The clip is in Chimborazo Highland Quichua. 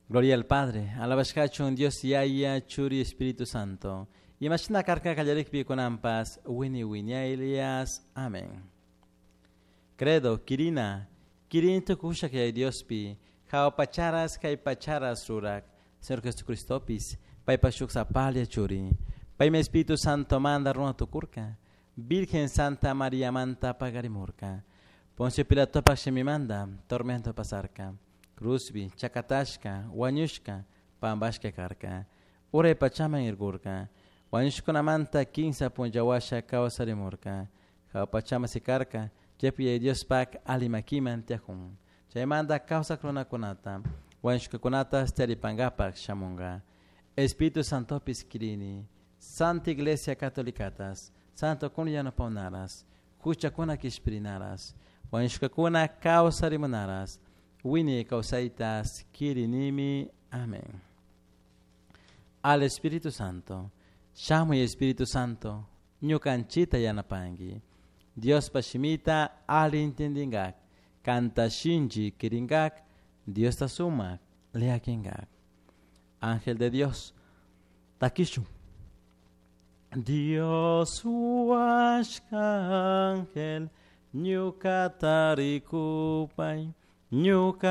Gloria al Padre, alabashkachun Dios Yaya, Churi, Espíritu Santo. Imashina karka kallarikpi kunanpas, wini wiñaylias. Amén. Credo, Kirina, Kirin tukushak yay Diospi, jao pacharas kay pacharas rurak, Señor Jesucristopis, paypa shuk sapalia churi. Paymi Espíritu Santo manda runa tukurka, Virgen Santa María manta pagarimurka. Poncio Pilatopak shimimanda, tormento pasarka. Cruzbi, chakatashka, wañushka, pambashka karka. Uray pachaman irgurka. Wañushkunamanta kinsa punllawasha kawsarimurka. Jawa pachaman sikarka, chaypi Yaya Diospak alimakiman tiyajun. Chaymanta kawsak runakunata, wañushkakunata taripankapak shamunka. Espíritu Santopis kirini, Santa Iglesia Catolicatas, Santo kun yanapawnaras, huchakuna kishpirinaras, wañushkakuna kawsarimunaras, wiñay kawsaytas kirinimi. Amén. Al Espíritu Santo, shamuy Espíritu Santo, ñukanchita yanapanki. Diospa shimita ali entendingak, kanta shinchi kiringak, Diosta sumak leakingak. Ángel de Dios, takishun. Dios huashka ángel, ñukata rikupay, ñuka.